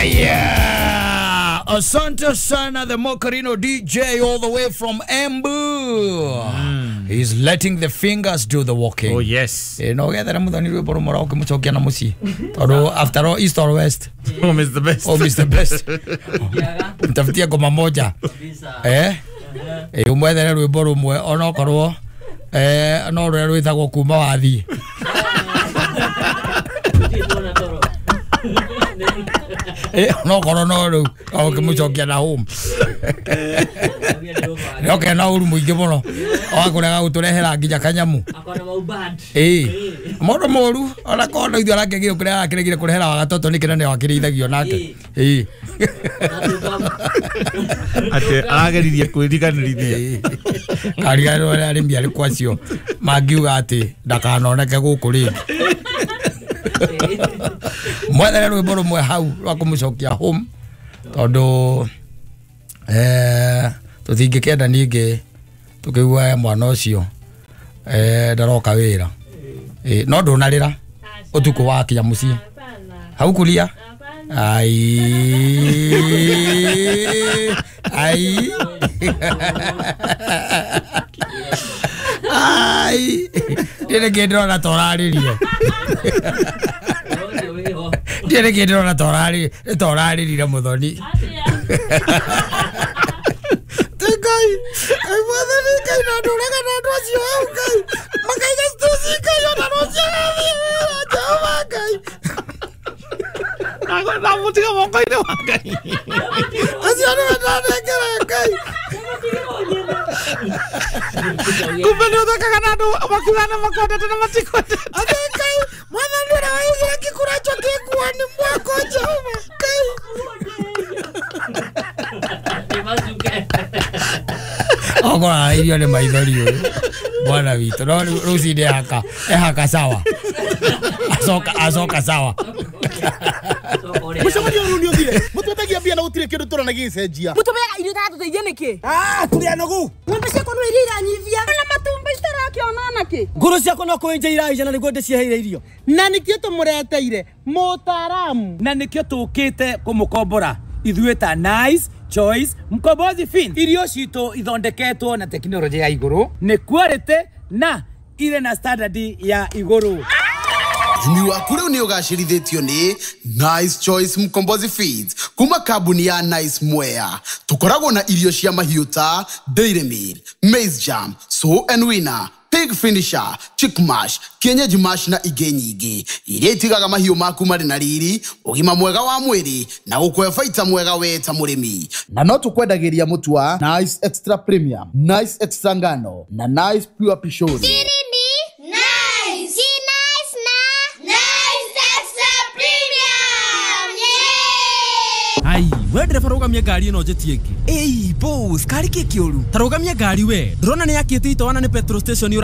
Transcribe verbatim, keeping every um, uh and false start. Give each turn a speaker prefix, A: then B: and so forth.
A: Aya, asante sana the Mokarino D J all the way from Embu. Mm. He's letting the fingers do the walking.
B: Oh yes.
A: Eh, no gethere muthoni rwimbo rumwe rwa ukimucokia na mucii. Tondu after all east or west,
B: home is the best.
A: Home is the best. Mtafutie ngoma moja. Eh? Eh, umwethere rwimbo rumwe onokorwo eh no rũrĩa rwĩtagwo kuma wathii. Eh, no korwo no rĩu ũkĩmũcokia na home. Nĩoke na ũru mũingĩ mũno wakũrega gũtũrehera nginya kanyamu. Ĩĩ mũndũ mũru ona korwo no ithuĩ arakĩgire kũrĩa arakĩregire kũrehera wa gatoto nĩ kĩrĩa nĩwe akĩrĩithagio nake. Ĩĩ
B: atĩ arageririe kwĩriganĩrithia
A: kariganĩrwo arĩa arĩmi arĩkũ acio mangiuga atĩ ndakanoneke gũkũ rĩngĩ. Mwethere rwĩmbo rũmwe hau rwa kũmũcokia home tondũ eh tũtingĩkenda ningĩ tũkĩigua mwana ũcio eh ndaroka wĩra. Eh no ndũnarĩra ũtukũ wakinya mũciĩ hau kuria ai ai ai ndĩrĩ kĩndũ ndĩrona ta ũrarĩrire. Ndĩrĩ kĩndũ ndĩrona ta ũrarĩrire ta ũrarĩrire mũthoni. Ngai ai mwathani Ngai na ndũraga na andũ acio hau Ngai makaiga stuci Ngai ona rũciũ agathiĩ wĩra Jehova Ngai
B: ndamũtiga moko-inĩ wa Ngai
A: acio nĩwe ndanengera Ngai.
B: Kumbe nĩ ũthekaga na andũ makiuga nĩ makwendete na matikwendete.
A: Atĩ Ngai mwathani ũrĩa waigire kĩkũracho kĩ nguo-inĩ mwako Jehova Ngai. Ogora irio nĩ maithori ũyũ bwana witũ no rũcinĩ ehaka ehaka sawa acoka acoka sawa.
C: Mũcemanio ũyũ nĩ ũthire mũtwetagia mbia na gũtirĩ kĩndũ tũrona gĩgĩcenjia.
D: Mũtũmeaga irio itaratũteithia nĩkĩ?
C: Ah, tũrĩ anogu.
D: Ng'ombe ciakwa no iria iranyivia na matumbĩ citarakĩona nakĩ.
E: Ngũrũ ciakwa no kũenja iraija na nĩguo ndĩciheire irio.
C: Na nĩkĩo tũmũreteire mũtaaramu.
E: Na nĩkĩo tũkĩte kũmũkombora ithuĩ ta Nice Choice Mkombozi Fin. Irio citũ ithondeketwo na tekinoronjĩ ya igũrũ, nĩ quality na irĩ na standard ya igũrũ.
F: Ũrĩmi waku rĩu nĩ ũgacĩrithĩtio nĩ Nice Choice Mkombozi Feeds kuma kambuni ya Nice Mwea. Tũkoragwo na irio cia mahiũ ta Dairy Meal, Maize Jam, Sow and Winner, Pig Finisher, Chick Mash, Kienyeji Mash na ingĩ nyingĩ iria itigaga mahiũ maku marĩ na riri, ũgima mwega wa mwĩrĩ na gũkũhe baita mwega we ta mũrĩmi. Na no tũkwendagĩria mũtu wa Nice Extra Premium, Nice Extra Ngano na Nice Pure Pishori.
G: Ai, we ndereba rũgamia ngari ĩno njĩtie ĩngĩ.
E: Ĩi, boss, kari kĩ kĩũru?
G: Ta rũgamia ngari we. Ndĩrona nĩ yakĩte itoana nĩ petrol station.